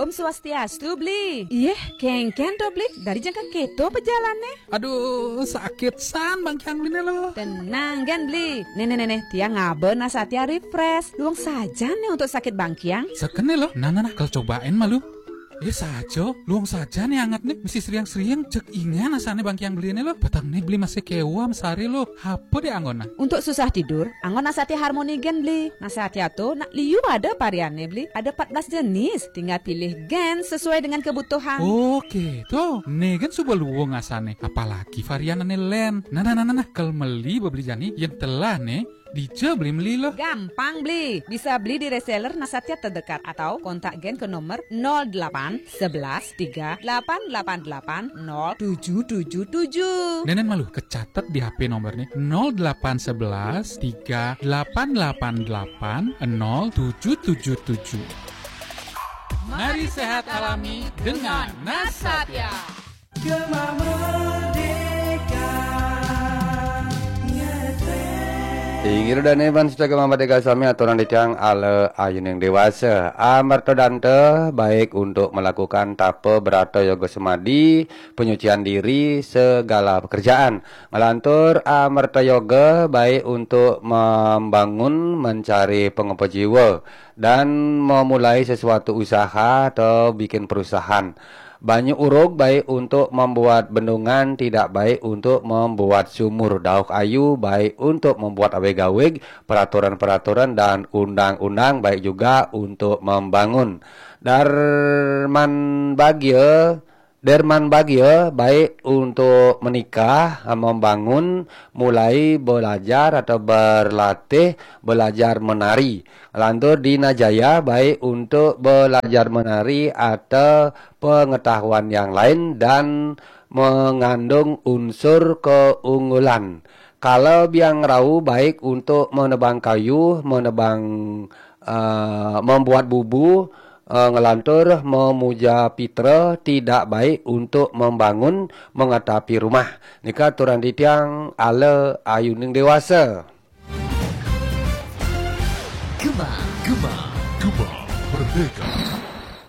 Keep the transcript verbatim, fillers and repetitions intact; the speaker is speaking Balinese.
Om Swastiastu, Bli. Iyeh, kénkén to, Bli. Dari jang ka kéto pejalannyané. Aduh, sakit san bangkiang Bliné lo. Tenang gén, Bli. Né, né, né, né, tiang ngaba Nasatya Refresh. Luung sajan né untuk sakit bangkiang. Sakéné lo. Nah, nah, nah, kal cobain malu. Yé saja, luung sajan né anget né. Mesti sriang-sriang, jeg ingan asané bangkiang Bliné lo. Petengné Bli masih kéweh masari lo. Apa dé anggona? Untuk susah tidur, anggon Nasatya Harmoni gén, Bli. Nasatya to nak liu ada varianné, Bli. Ada empat belas jenis. Tinggal pilih gén sesuai dengan kebutuhan. Oke, to. Né gén suba luung asané. Apalagi varian ané lén. Nah, nah, nah, nah, nah. Kal meli ba Bli jani, yén telah né, dija Bli meli lo. Gampang, Bli. Bisa beli di reseller Nasatya terdekat atau kontak gén ke nomor nol delapan sebelas tiga delapan delapan delapan nol tujuh tujuh tujuh. Nénén malu, kecatet di H P nomorné nol delapan sebelas tiga delapan delapan delapan nol tujuh tujuh tujuh. Mari sehat alami dengan Nasatya. Gema Merdeka, ngetrek. Inggih dané bangsa Gema Merdeka sami, aturang titiang ala ayuning déwasa. Amerta danta baik untuk melakukan tapa brata yoga semadi, penyucian diri, segala pekerjaan. Ngelantur amerta yoga baik untuk membangun, mencari pengapa jiwa dan memulai sesuatu usaha atau bikin perusahaan. Banyu urug baik untuk membuat bendungan, tidak baik untuk membuat sumur. Dauh ayu baik untuk membuat awig-awig, peraturan-peraturan dan undang-undang baik juga untuk membangun. Darman bagia, derman bagia baik untuk menikah, membangun, mulai belajar atau berlatih, belajar menari. Lantur dina jaya baik untuk belajar menari atau pengetahuan yang lain dan mengandung unsur keunggulan. Kala biang rau baik untuk menebang kayu, menebang, eh, membuat bubu, eh, ngelantur memuja pitra, tidak baik untuk membangun, mengatapi rumah. Nika aturang titiang ala ayuning déwasa. Gema, Gema, Gema Merdeka.